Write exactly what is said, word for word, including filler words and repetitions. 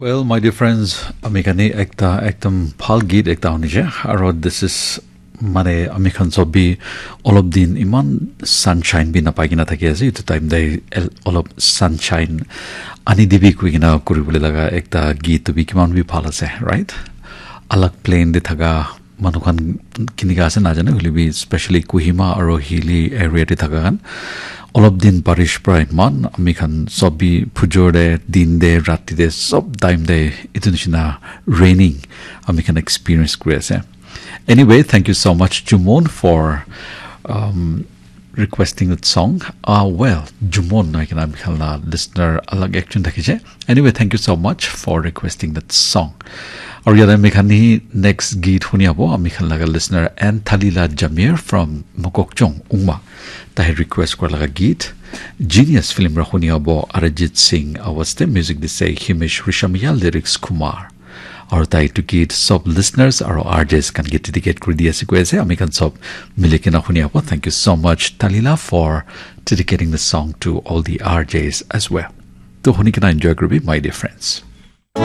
Well, my dear friends, ami khan ni ekta ekdam bhal git ekta hunise, aro this is mane ami khan sob bi olop din iman sunshine bi napai kena thaki ase, etu time te el- olop sunshine ani dibi koi kena kuri bole laga ekta git tu bi kiman bi bhal ase, right? Alag plane te thaka manu khan kinika ase najane, hoile bi specially Kohima aro hilly area te thaka khan olop din barish pra iman ami khan sob bi phujor te, din te, rati te, sob time te etu nishina raining ami khan experience kuri ase. Anyway, thank you so much, Jumon, for um, requesting that song. Ah, well, Jumon noi kena ami khan la listener alag ekjon thakise. Anyway, thank you so much for requesting that song. Aru yate ami khan hi next git huni abo ami khan laga listener Ann Thalila Jamir from Mokokchung, Ungma. Tahe request kora laga git Genius film ra huni abo Arijit Singh awaz te, music dise Himesh Reshammiya, lyrics Kumar. Aru tai etu git sob listeners aru R Js khan ke dedicate kuri di ase koi ase. Ami khan sob mili kena huni abo. Thank you so much, Thalila, for dedicating the song to all the R Js as well. To huni kena enjoy kuribi, my dear friends.